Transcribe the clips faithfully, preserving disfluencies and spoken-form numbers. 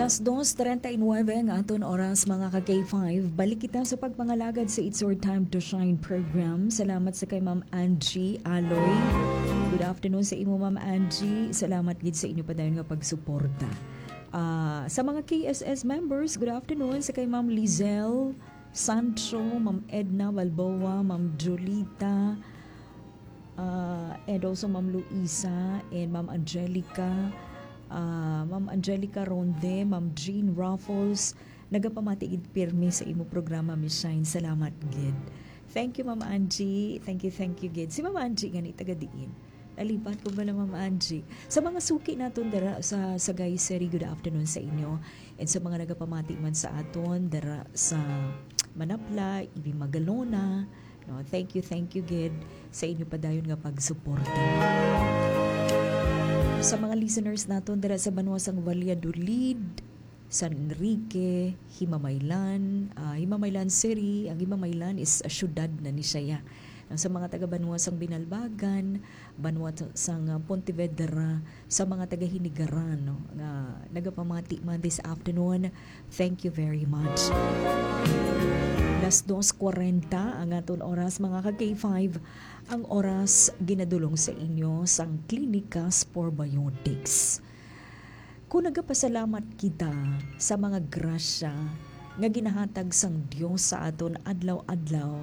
Alas dos treinta y nueve ang aton oras, mga ka K five. Balik kita sa pagpangalagad sa It's Your Time to Shine program. Salamat sa kay Ma'am Angie Aloy. Good afternoon sa imo, Ma'am Angie. Salamat gid sa inyo padayon nga pagsuporta. Ah, sa mga K S S members, good afternoon sa kay Ma'am Lizelle Sancho, Ma'am Edna Balboa, Ma'am Julita, ah, and also Ma'am Luisa and Ma'am Angelica, ah, Ma'am Angelica Ronde, Ma'am Jean Raffles. Nagapamati gid pirmi sa imo programa, Miss Shine. Salamat gid. Thank you, Ma'am Angie. Thank you, thank you gid. Si Ma'am Angie gani, taga diin? Nalipat ko bala, Ma'am Angie. Sa mga suki naton dira sa Sagay City, good afternoon sa inyo. And sa mga nagapamati man sa aton dira sa Manapla, Ibi Magalona, no, thank you, thank you gid sa inyo padayon nga pagsuporta. Sa mga listeners naton dira sa banwa sang Valladolid, San Enrique, Himamaylan, ah, Himamaylan City, ang Himamaylan is a syudad na ni siya. Ang sa mga taga banwa sang Binalbagan, banwa t-, sang, ah, Pontevedra, sa mga taga Hinigaran, no, nga nagapamati man this afternoon, thank you very much. Las dos kwarenta ang aton oras, mga ka K five, ang oras ginadulong sa inyo sang Clinicas Probiotics. Kung nagapasalamat kita sa mga grasya nga ginahatag sang Dios sa aton adlaw-adlaw,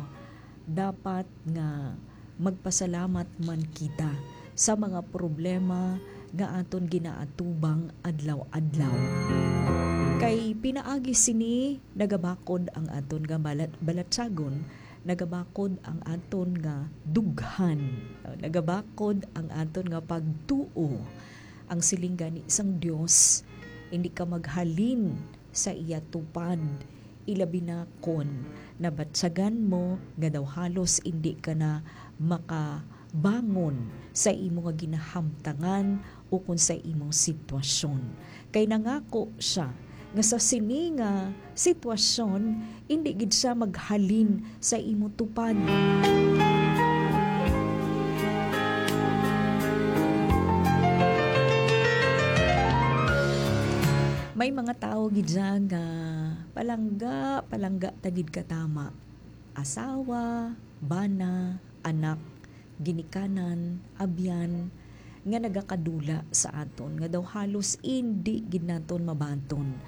dapat nga magpasalamat man kita sa mga problema nga aton ginaatubang adlaw-adlaw. Kay pinaagi sini, nagabakod ang aton nga balat-, balatyagon, nagabakod ang aton nga dughan, nagabakod ang aton nga pagtuo. Ang siling gani sang Dios, "Indi ka maghalin sa iya tupad, ilabi na kon nabatyagan mo nga daw halos indi ka na makabangon sa imo nga ginahamtangan ukon sa imong sitwasyon." Kay nangako siya nga sa sini nga sitwasyon, indi gid siya maghalin sa imo tupad. May mga tawo gid dyan nga palangga, palangga ta gid katama. Asawa, bana, anak, ginikanan, abyan, nga nagakadula sa aton, nga daw halos indi gid naton mabaton.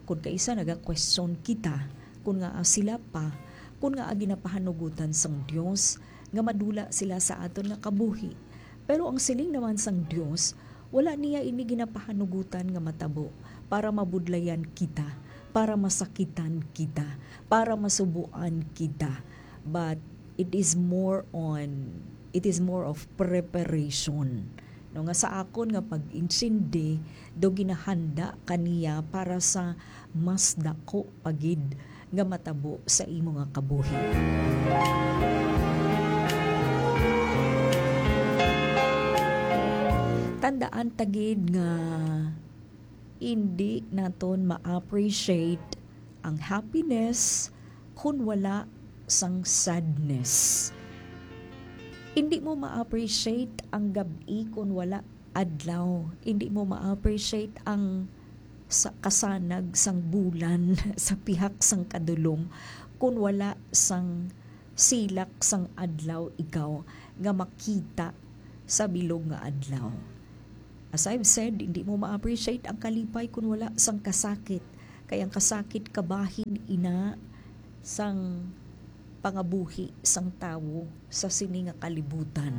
Kun kaisa, nagakwestiyon kita kun ngaa sila pa, kun ngaa ginapahanugutan sang Dios nga madula sila sa aton nga kabuhi. Pero ang siling naman sang Dios, wala niya ini ginapahanugutan nga matabo para mabudlayan kita, para masakitan kita, para masubuan kita. But it is more on, it is more of preparation. No, nga sa akon nga pag-intindi, daw ginahanda ka niya para sa mas dako pa gid nga matabo sa imo nga kabuhi. Tandaan ta gid nga indi naton ma-appreciate ang happiness kun wala sang sadness. Indi mo ma-appreciate ang gab-i kun wala adlaw. Indi mo ma-appreciate ang sa kasanag sang bulan sa pihak sang kadulom kun wala sang silak sang adlaw ikaw nga makita sa bilog nga adlaw. As I've said, hindi mo ma-appreciate ang kalipay kun wala sang kasakit, kay ang kasakit kabahin ina sang pangabuhi sang tawo sa sini nga kalibutan.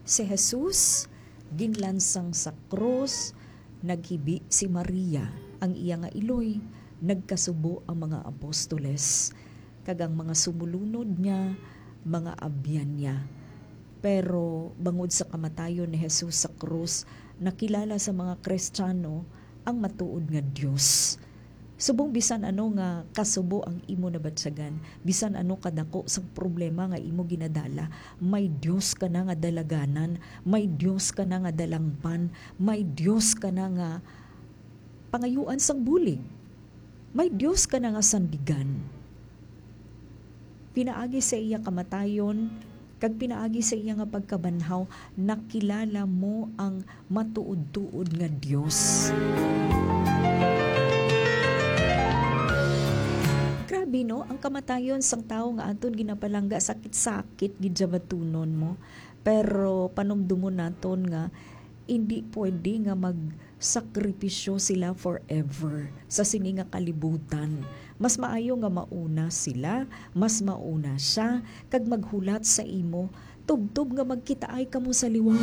Si Jesus ginlansang sa krus, naghibi si Maria, ang iya nga iloy, nagkasubo ang mga apostoles, kag ang mga sumulunod niya, mga abyan niya. Pero bangod sa kamatayon ni Jesus sa krus, nakilala sa mga Kristiyano ang matuod nga Dios. Subong bisan ano nga kasubo ang imo nabatyagan, bisan ano kadako sang problema nga imo ginadala, may Dios ka na nga dalaganan, may Dios ka na nga dalangpan, may Dios ka na nga pangayuan sang bulig, may Dios ka na nga sandigan. Pinaagi sa iya kamatayon, kag pinaagi sa iya nga pagkabanhaw, nakilala mo ang matuod-tuod nga Dios. Pino, ang kamatayon sang tawo nga aton ginapalangga, sakit-sakit gid siya batunon mo. Pero panumdumon naton nga indi pwede nga magsakripisyo sila forever sa sini nga kalibutan. Mas maayo nga mauna sila, mas mauna siya, kag maghulat sa imo, tubtob nga magkitaay kamo sa liwat.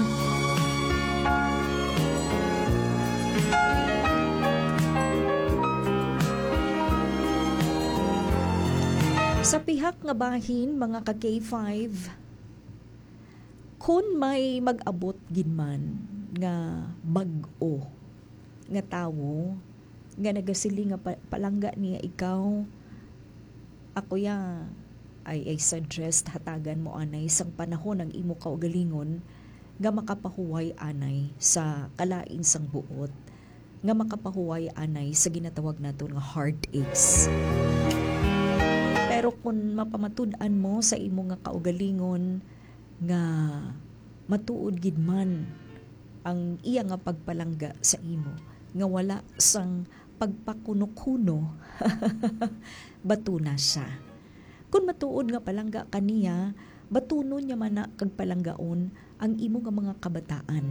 Sa pihak nga bahin, mga ka K five, kun may mag-abot gid man nga bag-o nga tawo nga nagasiling nga pa-, palangga niya ikaw, ako ya, I, I suggest hatagan mo anay sang panahon ang imo kaugalingon nga makapahuway anay sa kalain sang buot, nga makapahuway anay sa ginatawag naton nga heartaches. Pero kung mapamatud-an mo sa imo nga kaugalingon nga matuod gid man ang iya nga pagpalangga sa imo, nga wala sang pagpakuno-kuno, batuna siya. Kun matuod nga palangga ka niya, batunon niya man na kag palanggaon ang imo nga mga kabataan.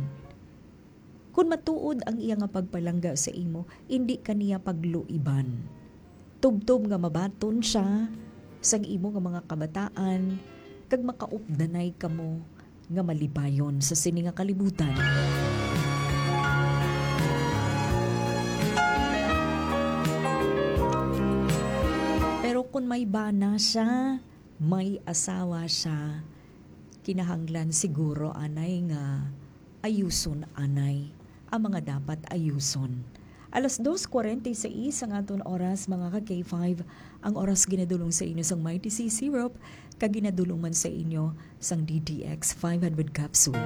Kun matuod ang iya nga pagpalangga sa imo, indi ka niya pagluiban. Tubtob nga mabaton siya sang imo nga mga kabataan, kag makaupdanay kamo nga malipayon sa sini nga kalibutan. Pero kung may bana siya, may asawa siya, kinahanglan siguro anay nga ayuson anay ang mga dapat ayuson. Alas dos kwarenta y seis ang aton oras, mga ka K five. Ang oras ginadulong sa inyo sang Mighty C Syrup, kag ginadulong man sa inyo sang D D X five hundred capsule.